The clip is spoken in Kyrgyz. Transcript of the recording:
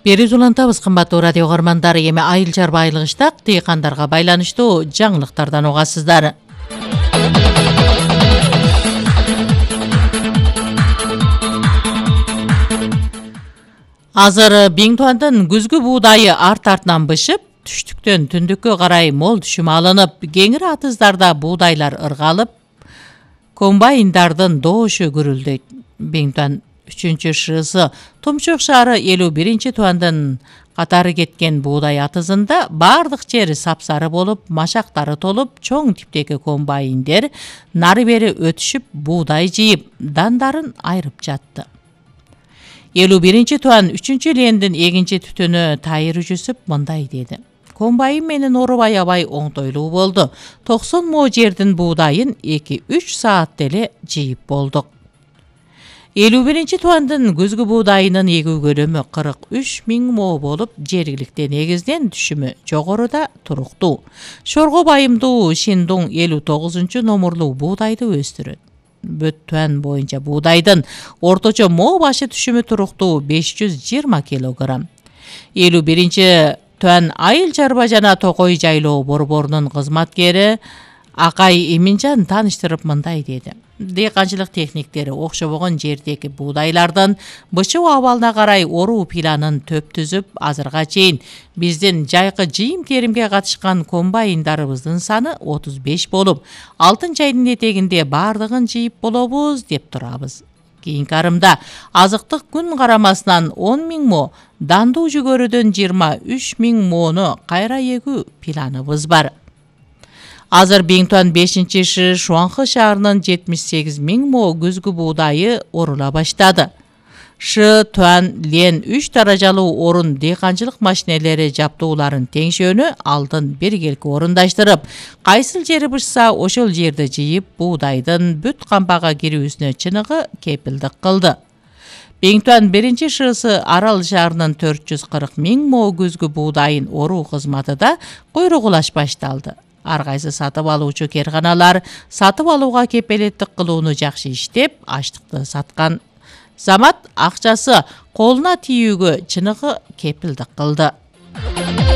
Берүүs улантабыз, кымбаттуу радио угармандар. Эми айыл чарба айылыштак дыйкандарга байланыштуу жаңылыктардан угасыздар. Азыр Биңтуандын күзгү буудайы арт-артынан бышып, түштүктөн түндүккө карай мол түшүм алынып, кеңири атыздарда буудайлар ыргалып, комбайндардын доошу күрүлдөйт. Биңтуан 3-шысы Тумчук шаары 51-туандын катары кеткен буудай атызында бардык жери сапсары болуп, машактары толуп, чоң типтеги комбайндер нары бери өтүшүп, буудай жыйып, дандарын айрып жатты. 51-туан 3-лендин эгинчи түтүнү Тайыр Жүсүп мындай деди: комбайн менен орубай абай оңтойлуу болду. 90 мо жердин буудайын 2-3 саатта эле жыйып болдук. 51-туандын күзгү буудайынын эгүү көлөмү 43 000 мо болуп, жергиликти негизден түшүмү жогоруда туруктуу. Шорго байымдуу Шиндуң 59 номурлуу буудайды өстүрөт. Бөттүан боюнча буудайдын орточо мо башы түшүмү туруктуу 520 килограмм. 51-туан айыл чарба жана токой жайлоо борборунун кызматкери Акай Эминжан тааныштырып мындай деди: дыйканчылык техниктери окшобогон жердеги буудайлардын бышуу абалына карай оруу планын төп түзүп, азырга чейин биздин жайкы жыйым теримге катышкан комбайндарыбыздын саны 35 болуп, алтын чайдын этегинде бардыгын жыйып болобуз деп турабыз. Кийинки арымда азыктык күн карамасынан 10 000 мо, дандуу жүгөрүдөн 23 000 мону кайра эгүү планыбыз бар. Азыр Биңтуан 5-шы Шуаңкы шаарынын 78 000 мо күзгү буудайы орула баштады. Туан Лен 3 даражалуу орун дыйканчылык машинелери жаптууларын теңшөөнү алдын биргелки орундаштырып, кайсыл жери бышса ошол жерди жыйып, буудайдын бүт кампага кирүүсүнө чыныгы кепилдик кылды. Биңтуан 1-шысы Арал шаарынын 440 000 мо күзгү буудайын оруу кызматы да куйругулаш башталды. Ар кайсы сатып алуучу керканалар сатып алууга кепилеттик кылууну жакшы иштеп, аштыкты саткан замат акчасы колуна тийүүгө чыныгы кепилдик кылды.